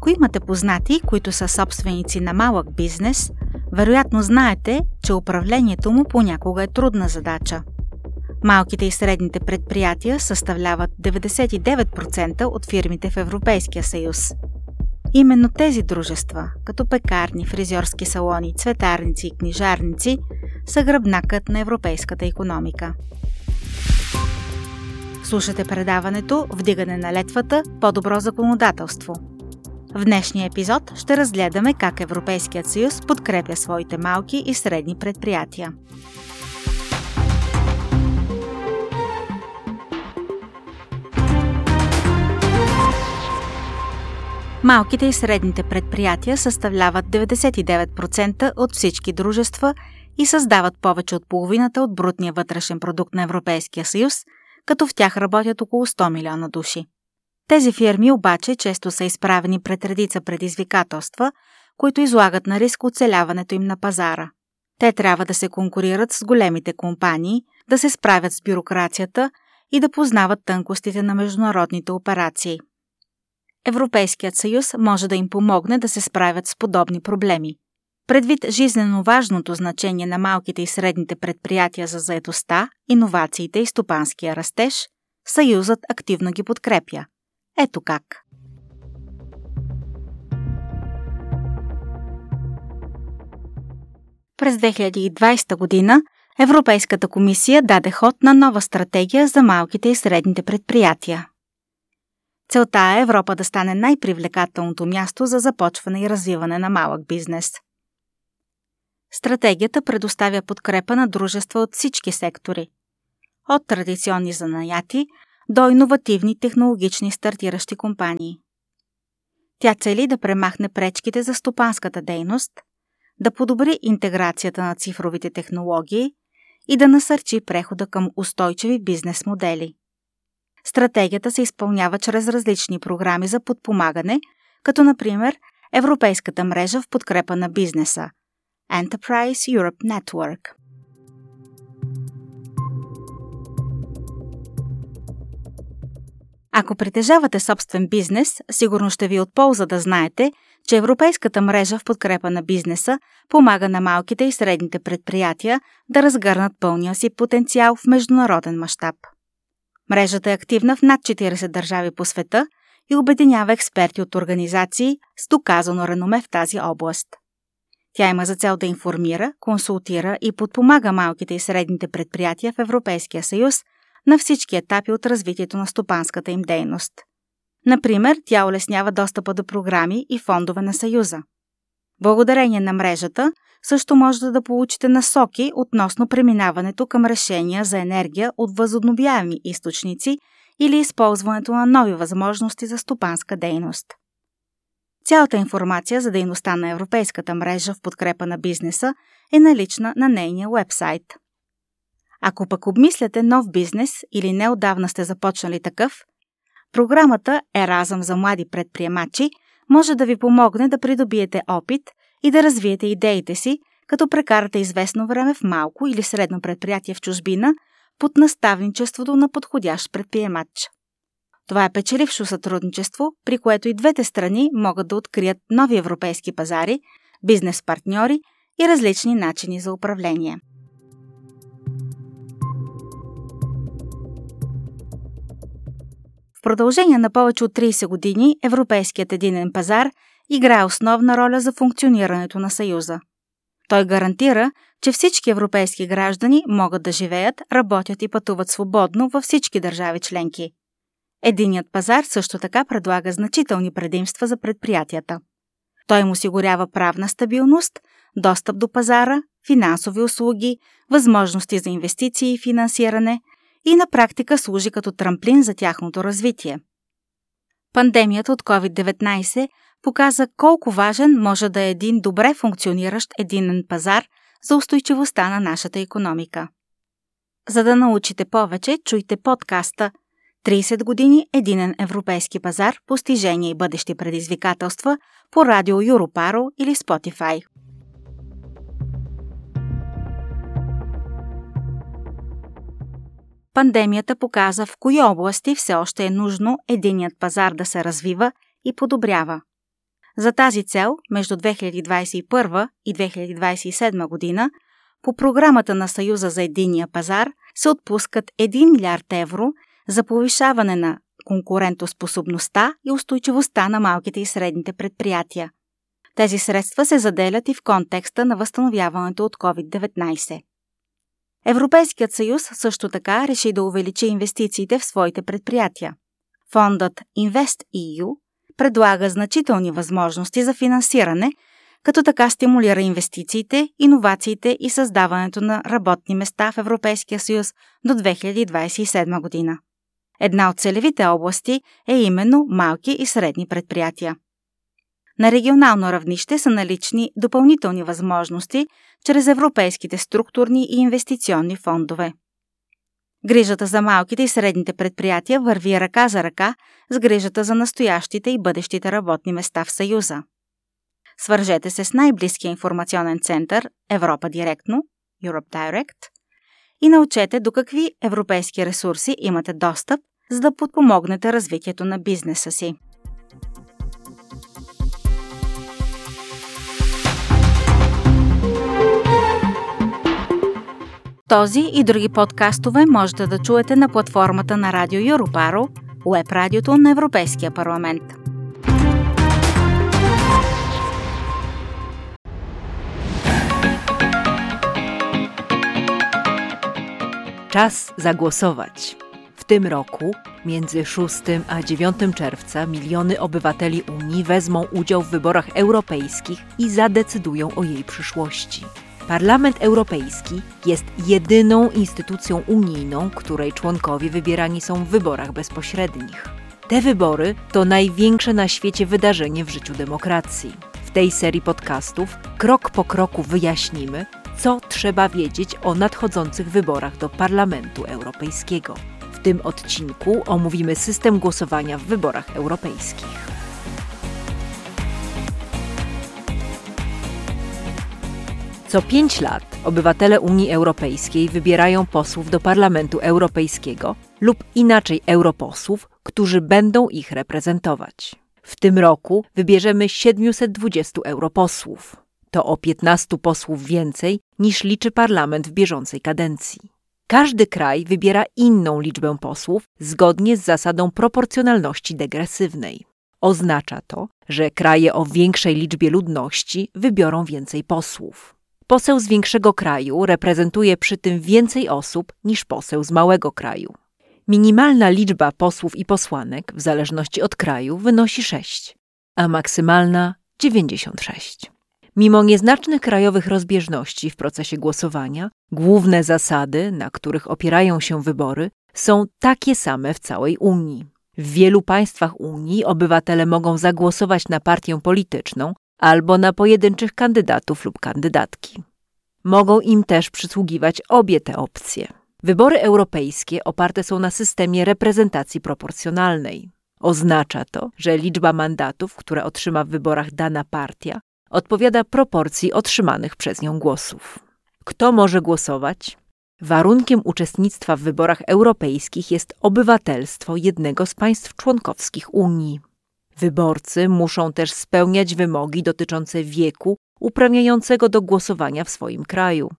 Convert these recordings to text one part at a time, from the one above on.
Ако имате познати, които са собственици на малък бизнес, вероятно знаете, че управлението му понякога е трудна задача. Малките и средните предприятия съставляват 99% от фирмите в Европейския съюз. Именно тези дружества, като пекарни, фризьорски салони, цветарници и книжарници, са гръбнакът на европейската икономика. Слушате предаването «Вдигане на летвата – по-добро законодателство». В днешния епизод ще разгледаме как Европейският съюз подкрепя своите малки и средни предприятия. Малките и средните предприятия съставляват 99% от всички дружества и създават повече от половината от брутния вътрешен продукт на Европейския съюз, като в тях работят около 100 милиона души. Тези фирми обаче често са изправени пред редица предизвикателства, които излагат на риск оцеляването им на пазара. Те трябва да се конкурират с големите компании, да се справят с бюрокрацията и да познават тънкостите на международните операции. Европейският съюз може да им помогне да се справят с подобни проблеми. Предвид жизнено важното значение на малките и средните предприятия за заетостта, иновациите и стопанския растеж, Съюзът активно ги подкрепя. Ето как. През 2020 година Европейската комисия даде ход на нова стратегия за малките и средните предприятия. Целта е Европа да стане най-привлекателното място за започване и развиване на малък бизнес. Стратегията предоставя подкрепа на дружества от всички сектори. От традиционни занаяти до иновативни технологични стартиращи компании. Тя цели да премахне пречките за стопанската дейност, да подобри интеграцията на цифровите технологии и да насърчи прехода към устойчиви бизнес модели. Стратегията се изпълнява чрез различни програми за подпомагане, като например Европейската мрежа в подкрепа на бизнеса Enterprise Europe Network. Ако притежавате собствен бизнес, сигурно ще ви е от полза да знаете, че Европейската мрежа в подкрепа на бизнеса помага на малките и средните предприятия да разгърнат пълния си потенциал в международен мащаб. Мрежата е активна в над 40 държави по света и обединява експерти от организации с доказано реноме в тази област. Тя има за цел да информира, консултира и подпомага малките и средните предприятия в Европейския съюз на всички етапи от развитието на стопанската им дейност. Например, тя улеснява достъпа до програми и фондове на Съюза. Благодарение на мрежата също можете да получите насоки относно преминаването към решения за енергия от възобновяеми източници или използването на нови възможности за стопанска дейност. Цялата информация за дейността на Европейската мрежа в подкрепа на бизнеса е налична на нейния уебсайт. Ако пък обмисляте нов бизнес или неотдавна сте започнали такъв, програмата Еразъм за млади предприемачи може да ви помогне да придобиете опит и да развиете идеите си, като прекарате известно време в малко или средно предприятие в чужбина под наставничеството на подходящ предприемач. Това е печелившо сътрудничество, при което и двете страни могат да открият нови европейски пазари, бизнес партньори и различни начини за управление. В продължение на повече от 30 години Европейският единен пазар играе основна роля за функционирането на Съюза. Той гарантира, че всички европейски граждани могат да живеят, работят и пътуват свободно във всички държави членки. Единният пазар също така предлага значителни предимства за предприятията. Той им осигурява правна стабилност, достъп до пазара, финансови услуги, възможности за инвестиции и финансиране и на практика служи като трамплин за тяхното развитие. Пандемията от COVID-19 показа колко важен може да е един добре функциониращ единен пазар за устойчивостта на нашата икономика. За да научите повече, чуйте подкаста 30 години единен европейски пазар, постижения и бъдещи предизвикателства по радио Europarl или Spotify. Пандемията показа в кои области все още е нужно единният пазар да се развива и подобрява. За тази цел, между 2021 и 2027 година, по програмата на Съюза за единния пазар се отпускат 1 милиард евро за повишаване на конкурентоспособността и устойчивостта на малките и средните предприятия. Тези средства се заделят и в контекста на възстановяването от COVID-19. Европейският съюз също така реши да увеличи инвестициите в своите предприятия. Фондът InvestEU предлага значителни възможности за финансиране, като така стимулира инвестициите, иновациите и създаването на работни места в Европейския съюз до 2027 година. Една от целевите области е именно малки и средни предприятия. На регионално равнище са налични допълнителни възможности чрез европейските структурни и инвестиционни фондове. Грижата за малките и средните предприятия върви ръка за ръка с грижата за настоящите и бъдещите работни места в Съюза. Свържете се с най-близкия информационен център Европа директно, Europe Direct, и научете до какви европейски ресурси имате достъп, за да подпомогнете развитието на бизнеса си. Този и други подкастове можете да чуете на платформата на Радио Europarl, уеб радиото на Европейския парламент. Czas zagłosować. W tym roku, między 6 a 9 czerwca, miliony obywateli Unii wezmą udział w wyborach europejskich i zadecydują o jej przyszłości. Parlament Europejski jest jedyną instytucją unijną, której członkowie wybierani są w wyborach bezpośrednich. Te wybory to największe na świecie wydarzenie w życiu demokracji. W tej serii podcastów krok po kroku wyjaśnimy, co trzeba wiedzieć o nadchodzących wyborach do Parlamentu Europejskiego. W tym odcinku omówimy system głosowania w wyborach europejskich. Co 5 lat obywatele Unii Europejskiej wybierają posłów do Parlamentu Europejskiego lub inaczej europosłów, którzy będą ich reprezentować. W tym roku wybierzemy 720 europosłów. To o 15 posłów więcej niż liczy parlament w bieżącej kadencji. Każdy kraj wybiera inną liczbę posłów zgodnie z zasadą proporcjonalności degresywnej. Oznacza to, że kraje o większej liczbie ludności wybiorą więcej posłów. Poseł z większego kraju reprezentuje przy tym więcej osób niż poseł z małego kraju. Minimalna liczba posłów i posłanek, w zależności od kraju, wynosi 6, a maksymalna 96. Mimo nieznacznych krajowych rozbieżności w procesie głosowania, główne zasady, na których opierają się wybory, są takie same w całej Unii. W wielu państwach Unii obywatele mogą zagłosować na partię polityczną albo na pojedynczych kandydatów lub kandydatki. Mogą im też przysługiwać obie te opcje. Wybory europejskie oparte są na systemie reprezentacji proporcjonalnej. Oznacza to, że liczba mandatów, które otrzyma w wyborach dana partia, odpowiada proporcji otrzymanych przez nią głosów. Kto może głosować? Warunkiem uczestnictwa w wyborach europejskich jest obywatelstwo jednego z państw członkowskich Unii. Wyborcy muszą też spełniać wymogi dotyczące wieku uprawniającego do głosowania w swoim kraju.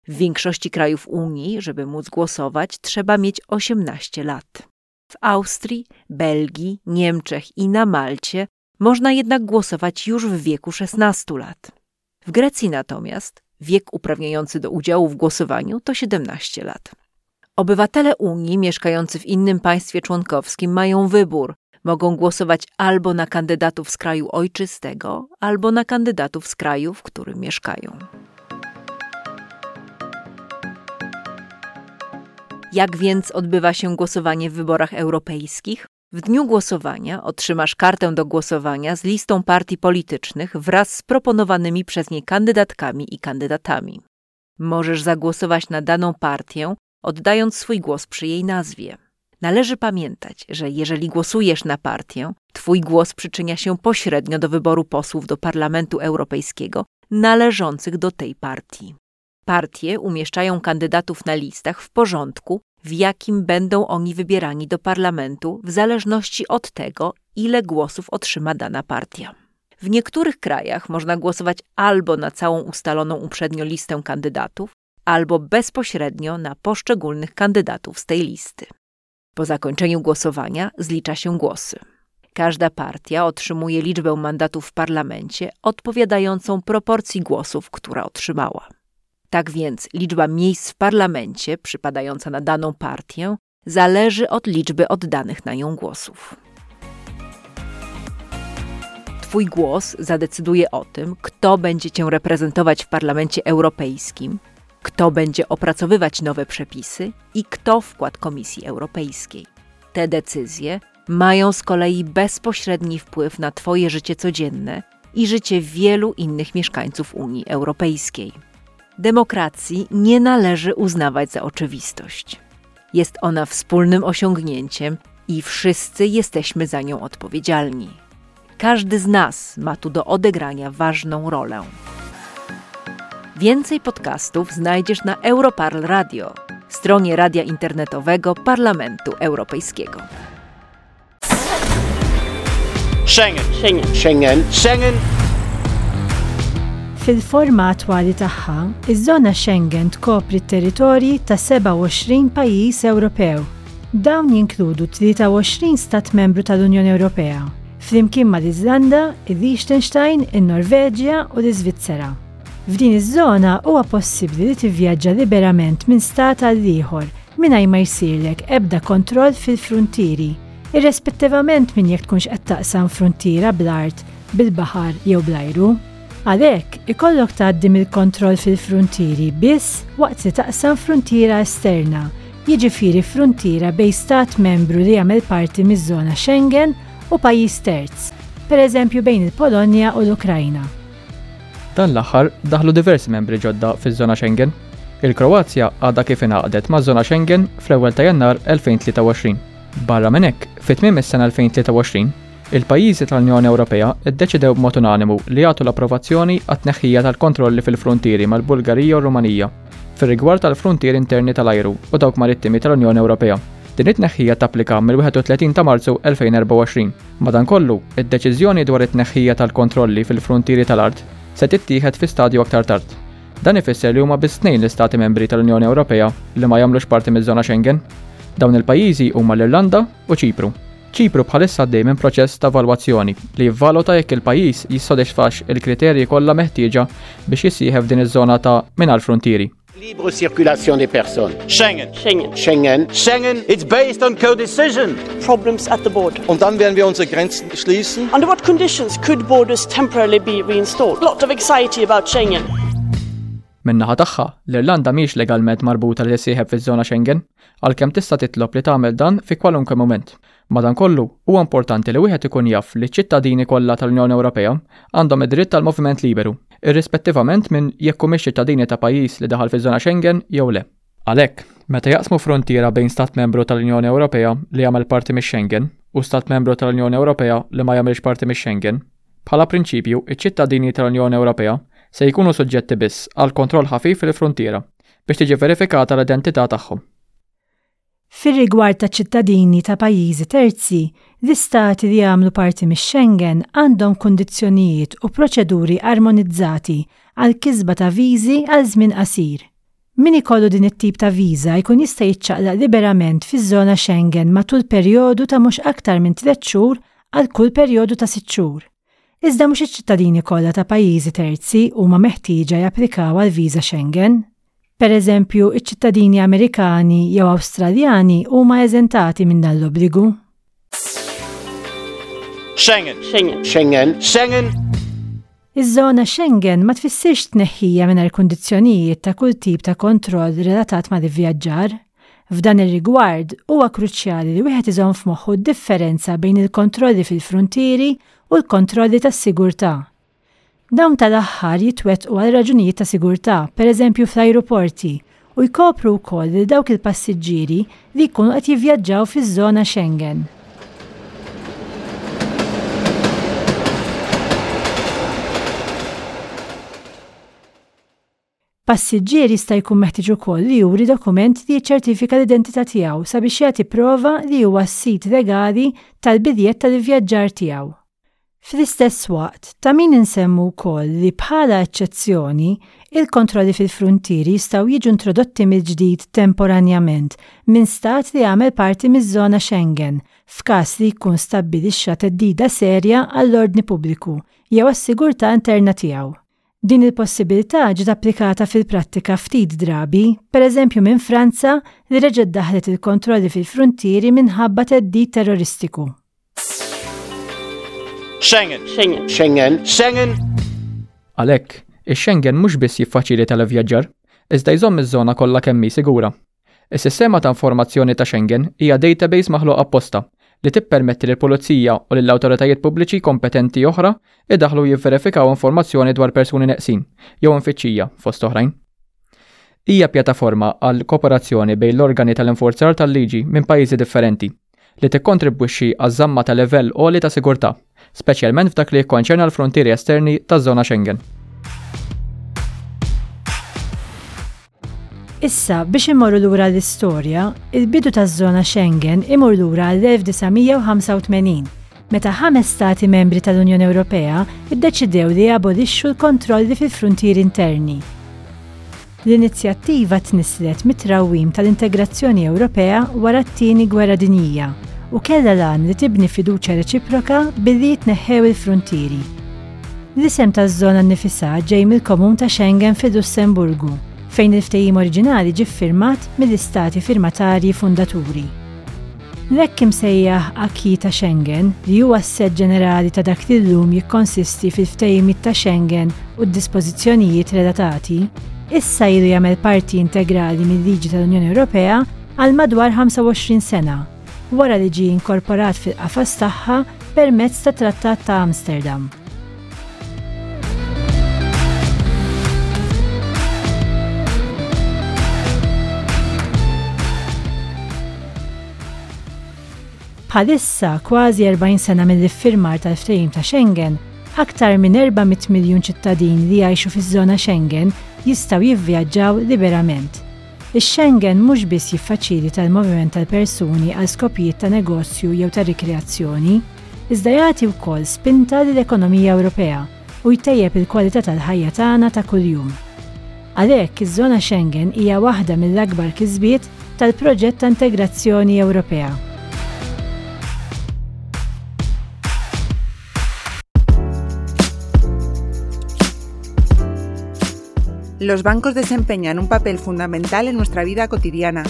W większości krajów Unii, żeby móc głosować, trzeba mieć 18 lat. W Austrii, Belgii, Niemczech i na Malcie można jednak głosować już w wieku 16 lat. W Grecji natomiast wiek uprawniający do udziału w głosowaniu to 17 lat. Obywatele Unii mieszkający w innym państwie członkowskim mają wybór. Mogą głosować albo na kandydatów z kraju ojczystego, albo na kandydatów z kraju, w którym mieszkają. Jak więc odbywa się głosowanie w wyborach europejskich? W dniu głosowania otrzymasz kartę do głosowania z listą partii politycznych wraz z proponowanymi przez nie kandydatkami i kandydatami. Możesz zagłosować na daną partię, oddając swój głos przy jej nazwie. Należy pamiętać, że jeżeli głosujesz na partię, twój głos przyczynia się pośrednio do wyboru posłów do Parlamentu Europejskiego należących do tej partii. Partie umieszczają kandydatów na listach w porządku, w jakim będą oni wybierani do parlamentu w zależności od tego, ile głosów otrzyma dana partia. W niektórych krajach można głosować albo na całą ustaloną uprzednio listę kandydatów, albo bezpośrednio na poszczególnych kandydatów z tej listy. Po zakończeniu głosowania zlicza się głosy. Każda partia otrzymuje liczbę mandatów w parlamencie odpowiadającą proporcji głosów, która otrzymała. Tak więc liczba miejsc w parlamencie przypadająca na daną partię zależy od liczby oddanych na nią głosów. Twój głos zadecyduje o tym, kto będzie cię reprezentować w Parlamencie Europejskim, kto będzie opracowywać nowe przepisy i kto wkład Komisji Europejskiej. Te decyzje mają z kolei bezpośredni wpływ na Twoje życie codzienne i życie wielu innych mieszkańców Unii Europejskiej. Demokracji nie należy uznawać za oczywistość. Jest ona wspólnym osiągnięciem i wszyscy jesteśmy za nią odpowiedzialni. Każdy z nas ma tu do odegrania ważną rolę. Więcej podcastów znajdziesz na Europarl Radio, stronie radia internetowego Parlamentu Europejskiego. Schengen. Schengen. Schengen. Schengen. Fil-forma attwali tagħha, iż-żona Schengen tkopri t-territorji ta' 27 pajjiż Ewropew. Dawn jinkludu 23 stat membru tal-Unjoni Ewropea, flimkien mal-Iżlanda, il-Liechtenstein, in-Norveġja u l-Iżvizzera. F'din iż-żona huwa possibbli li tivvjaġġa liberament minn stat għal ieħor mingħajr ma jsirlek ebda kontroll fil-fruntieri, irrespettivament minn jekk tkunx qed taqsam fruntiera bl-art, bil-baħar jew bl-ajru. Għalhekk, ikollok tgħaddi mill-kontroll fil-fruntieri biss waqt li taqsam fruntiera esterna, jiġifieri fruntiera bejn stat membru li jagħmel parti miż-żona Schengen u pajjiż terz, pereżempju bejn il-Polonja u l-Ukrajna. Dan l-aħħar daħlu diversi membri ġodda fiż-żona Schengen. Il-Kroazja għadha kif ingħaqdet maż-żona Schengen fl-ewwel ta' Jannar 2023. Barra minn hekk, fi tmiem is-sena 2023, il-pajjiżi tal-Unjoni Ewropea ddeċidew b'mod unanimu li jagħtu l-approvazzjoni għat-tneħħija tal-kontrolli fil-fruntieri mal-Bulgarija u r-Rumanija fir-rigward tal-fruntieri interni tal-ajru u dawk marittimi tal-Unjoni Ewropea. Din it-tneħħija tapplika mill-31 ta' Marzu 2024. Madankollu, id-deċiżjoni dwar it-tneħħija tal-kontrolli fil-fruntieri tal-art se tittieħed fi stadju aktar tard. Dan ifisser li huma biss tnejn l-Istati Membri tal-Unjoni Ewropea li ma jagħmlux parti miż-żona Schengen. Dawn il-pajjiżi huma l-Irlanda u Ċipru. Ċipru bħalissa għaddej minn proċess ta' evalwazzjoni li jivvaluta jekk il-pajjiż jissodisfax il-kriterji kollha meħtieġa biex jissieħeb f'din iż-żona ta' mingħajr fruntieri. Libre circulation des personnes. Schengen. Schengen. Schengen. Schengen. It's based on co-decision. Problems at the border. Und dann werden wir unsere Grenzen schließen. Under what conditions could borders temporarily be reinstalled? Lot of anxiety about Schengen. Min-naħa tagħha, l-Irlanda mhijiex legalment marbuta li tissieħeb fiż-żona Schengen, għalkemm tista' titlob li tagħmel dan fi kwalunkwe mument. Madankollu, huwa importanti li wieħed ikun jaf li ċ-ċittadini kollha tal-Unjoni Ewropea għandhom id-dritt għall-moviment liberu, irrispettivament minn jekk humiex ċittadini ta' pajjiż li daħal fiż-żona Schengen jew le. Għalhekk, meta jaqsmu fruntiera bejn Stat Membru tal-Unjoni Ewropea li jagħmel parti mix-Schengen u Stat Membru tal-Unjoni Ewropea li ma jagħmilx parti mix-Schengen, bħala prinċipju iċ-ċittadini tal-Unjoni Ewropea se jkunu suġġetti biss għal kontroll ħafif fil-fruntiera biex tiġi verifikata l-identità tagħhom. Fir-rigward ta' ċittadini ta' pajjiżi terzi, l-istati li jagħmlu parti mix-Schengen għandhom kundizzjonijiet u proċeduri armonizzati għall-kisba ta' viżi għal żmien qasir. Min ikollu din it-tip ta' viża jkun jista' jiċċaqlaq liberament fiż-żona Schengen matul perjodu ta' mhux aktar minn tlett xhur għal kull perjodu ta' sitt xhur. Iżda mhux iċ-ċittadini kollha ta' pajjiżi terzi huma meħtieġa japplikaw għal viża Schengen. Pereżempju, iċ-ċittadini Amerikani jew Awstraljani huma eżentati minn dan l-obbligu. Schengen. Schengen. Schengen. Schengen. Iż-żona Schengen ma tfissirx tneħħija mingħajr kundizzjonijiet ta' kull tip ta' kontroll relatat mal-ivvjaġġar. F'dan ir-rigward, huwa kruċjali li wieħed iżomm f'moħħu d-differenza bejn il-kontrolli fil-fruntieri u l-kontrolli tas-sigurtà. Dawn tal-aħħar jitwettqu għal raġunijiet ta' sigurtà, pereżempju fl-ajruporti, u jkopru wkoll lil dawk il-passiġġieri li jkunu qed jivvjaġġaw fiż-żona Schengen. Passiġġier jista' jkun meħtieġ ukoll li juri dokument li jiċċertifika l-identità tiegħu sabiex jagħti prova li huwa s-sid legali tal-biljett tal-ivvjaġġar tiegħu. Fl-istess waqt, ta' min insemmu wkoll li bħala eċċezzjoni, il-kontrolli fil-fruntieri jistgħu jiġu introdotti mill-ġdid temporanjament minn Stat li jagħmel parti miż-żona Schengen f'każ li jkun stabbilixxa theddida serja għall-ordni pubbliku jew għas-sigurtà interna tiegħu. Din il-possibilità ġiet applikata fil-prattika ftit drabi, pereżempju minn Franza li reġgħet daħħlet il-kontrolli fil-fruntieri minħabba theddid terroristiku. Schengen. Schengen. Schengen. Schengen. Għalhekk, ix-Schengen mhux biss jiffaċilita l-ivvjaġġar, iżda jżomm iż-żona kollha kemm hi sigura. Is-Sistema ta' Informazzjoni ta' Schengen hija database maħluqa apposta li tippermetti lill-pulizija u lil awtoritajiet pubbliċi kompetenti oħra jdaħħlu u jivverifikaw informazzjoni dwar persuni neqsin jew imfittxija, fost oħrajn. Hija pjattaforma għal kooperazzjoni bejn l-organi tal-infurzar tal-liġi minn pajjiżi differenti. li tikkontribwixxi għaż-żamma ta' livell għoli ta' sigurtà, speċjalment f'dak li jikkonċerna l-fruntieri esterni taż-żona Schengen. Issa, biex immorru lura l-istorja, il-bidu taż-żona Schengen imur lura għall-1985, meta ħames stati membri tal-Unjoni Ewropea ddeċidew li jabolixxu l-kontrolli fil-fruntieri interni. L-inizjattiva tnisslet mit-trawwim tal-integrazzjoni Ewropea wara t-Tieni Gwerra Dinjija u kellha l-għan li tibni fiduċja reċiproka billi jitneħħew il-fruntieri. L-isem taż-żona nnifisha ġej mill-komun ta' Schengen fil-Lussemburgu, fejn il-ftehim oriġinali ġie ffirmat mill-istati firmatarji fundaturi. L-hekk imsejjaħ acquis ta' Schengen, li huwa s-sett ġenerali ta' dak li llum jikkonsisti fil-Ftehimiet ta' Schengen u d-dispożizzjonijiet relatati, issa ilu jagħmel parti integrali mil-liġi tal-Unjoni Ewropea għal madwar 25 sena, wara li ġie inkorporat fil-qafas tagħha permezz tat-Trattat ta' Amsterdam. Bħalissa, kważi 40 sena mill-iffirmar tal-Ftehim ta' Schengen, aktar minn 400 miljun ċittadin li jgħixu fiż-żona Schengen jistgħu jivvjaġġaw liberament. Ix-Schengen mhux biss jiffaċilita l-moviment tal-persuni għal skopijiet ta' negozju jew ta' rikreazzjoni, iżda jagħti wkoll spinta lill-ekonomija Ewropea u jtejjeb il-kwalità tal-ħajja tagħna ta' kuljum. Għalhekk, iż-żona Schengen hija waħda mill-akbar kisbiet tal-proġett ta' integrazzjoni Ewropea. Los bancos desempeñan un papel fundamental en nuestra vida cotidiana.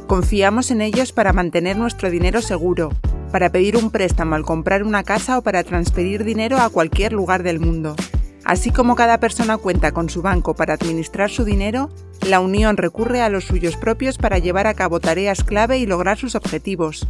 Confiamos en ellos para mantener nuestro dinero seguro, para pedir un préstamo al comprar una casa o para transferir dinero a cualquier lugar del mundo. Así como cada persona cuenta con su banco para administrar su dinero, la Unión recurre a los suyos propios para llevar a cabo tareas clave y lograr sus objetivos.